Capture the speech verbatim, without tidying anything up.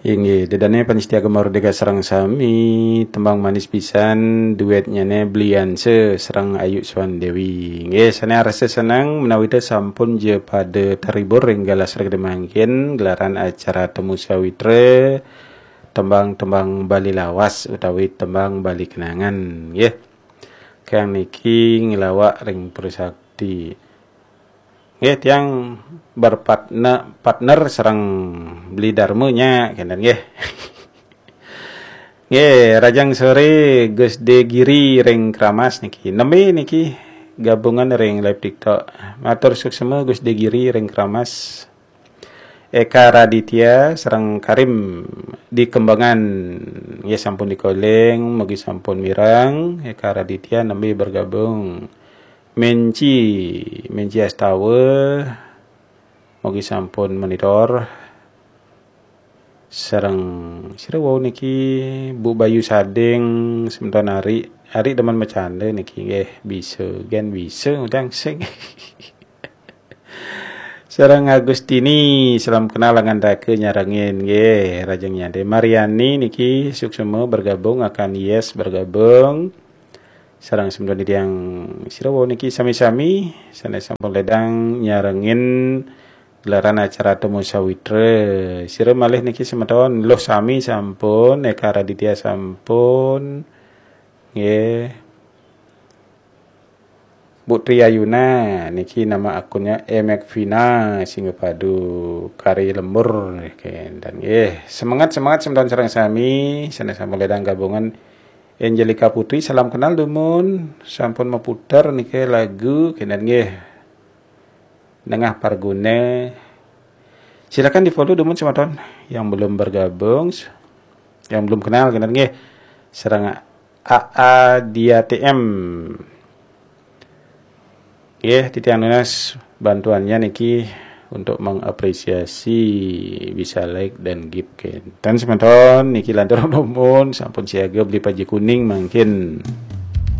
Inggih, ida dané pamiarsa Gema Merdeka sareng sami, tembang manis pisan, duetnyané Blianse sareng Ayu Swandewi. Inggih, sané arsa seneng menawi té sampun ja pada terhibur ring galah sreg mangkin gelaran acara Temu Sawitra, tembang-tembang Bali lawas utawi tembang Bali kenangan, nggih. Kang niki ngelawak ring Prasakti. Nggih, tiang berpartner partner sareng Beli Darma nya, kenten nggih. Nggih, rahajeng sore Gus De Giri ring Kramas niki. Nembe niki gabungan ring live TikTok. Matur suksma Gus De Giri ring Kramas. Eka Raditya sareng Karim di Kembangan, nggih, sampun di calling, mugi sampun mireng. Eka Raditya nembe bergabung. Menci, Menci Astawa, mugi sampun monitor. Sareng sira wau niki, Bu Bayu Sading, semeton Ari, Ari demen macanda niki, nggih, bisa, gen bisa, udang sing. Sareng Agustini, salam kenal, angan raka nyarengin, nggih, rahajeng nyade. Mariani niki suksma bergabung, akan Yes bergabung. Sareng semeton titiang sira wau niki sami-sami sané sampun ledang nyarengin gelaran acara Temu Sawitra. Sira malih niki semeton, Luh Sami sampun, Eka Raditya sampun, nggih. Bu Tri Ayuna niki nama akunnya Emek Vina Singapadu Kari Lembur, kenten nggih. Semangat, semangat semeton sareng sami, sané sampun ledang gabungan. Angelika Putri, salam kenal dumun, sampun maputer niki lagu, kenten nggih. Nengah Parguna. Silakan di-follow dumun semeton yang belum bergabung, yang belum kenal, kenten nggih. Sareng A A Dia T M. Nggih, titiang nunas bantuannya niki untuk mengapresiasi bisa like dan gift, kenten semeton niki lantur dumun sampun siaga beli paji kuning mangkin.